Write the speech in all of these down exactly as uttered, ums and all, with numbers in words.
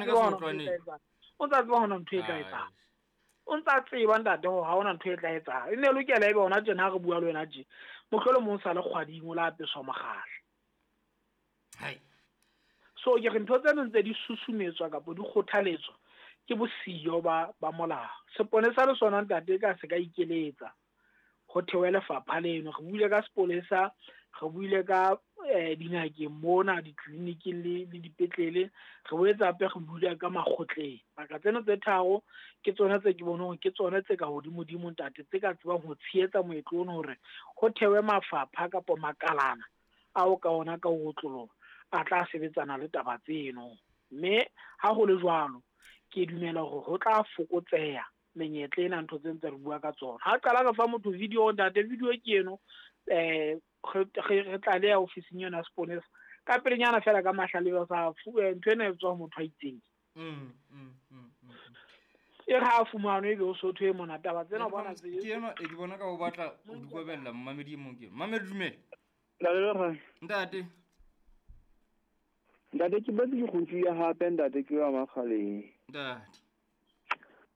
Ka o ntsa tseba hona ntho e tla etsang. O ntsa tseba ntate hore ha hona ntho e tla etsang. E ne lokela ebe hona tjena ha re bua le wena tje. Mohlolo mong sa le kgwading o la apeswa mokgahla. Hai. So ke re ntho tseno ntse di susumetswa kapa di kgothaletswa ke bosiyo ba ba molao. Seponesa le sona ntate ka se ka ikeletsa ho thewe lefapha leno. Re buile ka sepolesa, re buile ka eh dingakeng mona, ditleliniking le le dipetlele, re boetse hape re buile ka makgotleng. Baka tseno tse tharo ke tsona tse ke bonang hore ke tsona tse ka hodimodimo ntate tse ka tsebang ho tshehetsa moetlo ono hore ho thewe mafapha kapa makalana ao ka ona ka ho otloloha a tla sebetsana le taba tseno. Mme ha ho le jwalo ke dumela hore ho tla fokotseha menyetla ena ntho tse ntse re bua ka tsona. Ha qala re fa motho video ntate, video ke eno eh re re tlaleha ofising yona ya seponesa ka pelenyana fela ka mahlale ba sa ntho ena e tswa motho a itseng. Mm mm mm. E re ha fumanwe ebe o sotho e mona taba tsena bona tse ke eno e di bona ka o batla o di kobella mmamedi mong ke. Mmamedi dumela. Ntate Ntate. Ntate ke batla go tsuya hape ntate ke wa Makgaleng. Ntate.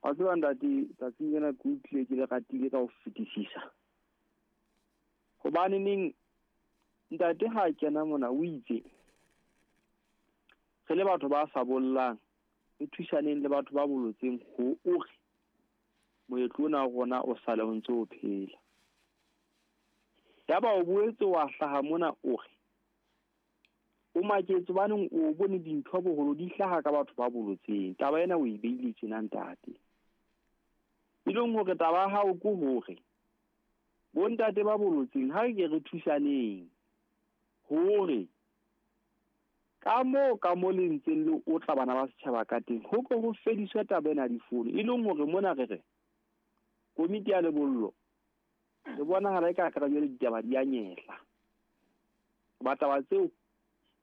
Wa tseba ntate tsatsing lena ke utlwile ke le ratile ka ho fetisisa. Hobane neng ntate ha kena mona o itse re le batho ba sa bollang re thusaneng le batho ba bolotseng ho ore moetlo ona wa rona o sale o ntse o phela. Yaba o boetse wa hlaha mona o re o maketse baneng o bone dintho boholo di hlaha ka batho ba bolotseng. Taba ena o e beile tjena ntate. E leng hore taba ya hao ke hore bontate ba bolotseng ha re ke re thusaneng hore ka moo ka mo le ntseng le otla bana ba setjhaba ka teng ho ko ho fediswe taba ena difono. E leng hore mona re re komiti ya lebollo le bonahala e ka ka jwale ditaba di a nyehla. Ba taba tseo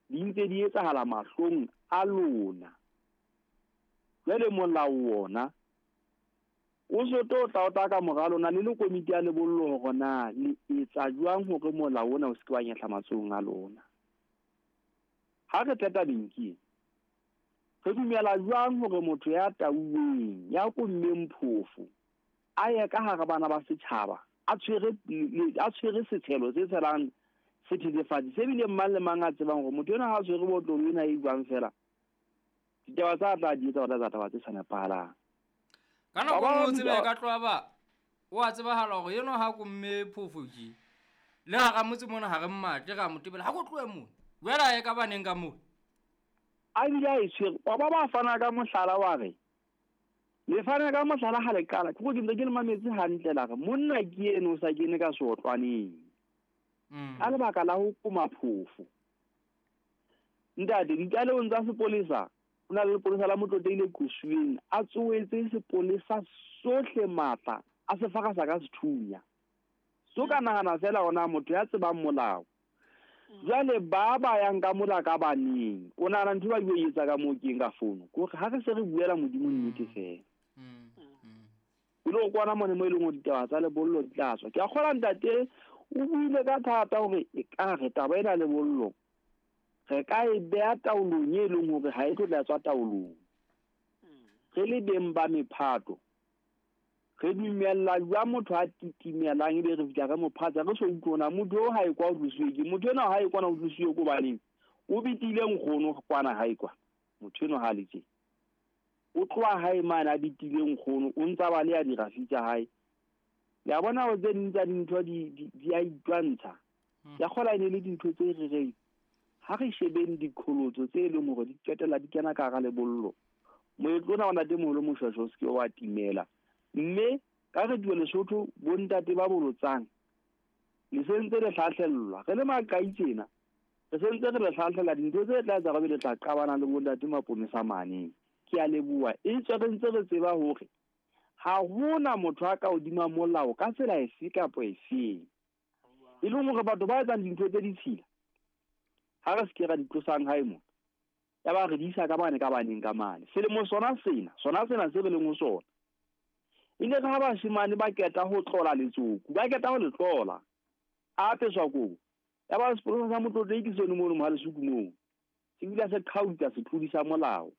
di ntse di etsahala mahlong a lona. Jwale molao ona o so tlo tla o tla ka mora lona le le komiti ya lebollo hore na le etsa jwang hore molao ona o se ke wa nyehla matsohong a lona. Ha re tla tabeng ke re dumela jwang hore motho ya tauweng ya kommeng phofo a ye ka hara bana ba setjhaba a tshwere a tshwere setshelo se tshelang sethethefatsi se bile mang le mang a tsebang hore motho ena ha a tshwere botlolo ena e jwang fela ditaba tsa tla di etsa tsa taba tse sa nepahalang. Ka nako e nngwe o tsebe ka tloha ba o a tsebahala hore eno ha komme phofo ke le hara motse mona ha re mmatle ra mo tebela ha ko tlohe mona jwale a ye ka baneng ka moo a bile a e tshwere. Wa ba ba fana ka mohlala wa re le fana ka mohlala ha le qala ke go ke ntse ke le mametse hantle la re monna ke eno o sa kene ka seotlwaneng ka lebaka la ho koma phofo. Ntate ditlalehong tsa sepolesa o na le lepolesa la Motlotlehile Qosuweng a tsoetse sepolesa sohle matla a se fakasa ka sethunya. So ka nahana fela ona motho ya tsebang molao. Jwale ba ba yang ka mola ka baneng o nahana ntho ba e etsa ka moo keng ka fono ke hore ha re se re buela Modimo nnete fela. O lo kwana mone mo e leng hore ditaba tsa lebollo di tla tswa. Ke a kgolwa ntate o buile ka thata hore e ka re taba ena lebollo re ka e beha taolong e leng hore ha e tlo tla tswa taolong. Re le beng ba mephato re dumella jwang motho a titimelang ebe re fihla re mo phatsa re so utlwe hore motho o ha e kwa o tlosiwe ke motho enwa ha e kwana o tlosiwe ko baneng o bitile nkgono kwana ha e kwa motho enwa ha le tje o tloha hae mane a bitile nkgono o ntsa ba le ya dirafi tsa hae. Le a bona hore tse ding tsa dintho di di a itwantsha. Ya kgola e ne le dintho tse re reng ha re shebeng diqholotso tse leng hore di qetella di kena ka hara lebollo. Moetlo ona wa ntatemoholo Moshweshwe o se ke wa timela. Mme ka re tue Lesotho bontate ba bolotsang le sentse le hlahlellwa re le maqai tjena re sentse re le hlahlela dintho tse tla etsa re le tla qabana le bontate maponesa mane. Ke a leboha e tswe re ntse re tseba hore ha hona motho a ka hodima molao ka tsela efe kapa efeng. E leng hore batho ba etsang dintho tse ditshila ha re se ke ra di tlosang hae mona ya ba re di isa ka bane ka baneng ka mane. Selemo sona sena sona sena se re leng ho sona ile ka ha bashemane ba keta ho tlola letsoku ba keta ho le tlola a apeswa kobo ya ba sepolesa sa Motlotlehile ke sone mono mo ha lesuku moo se bile se qhautsa se tlodisa molao.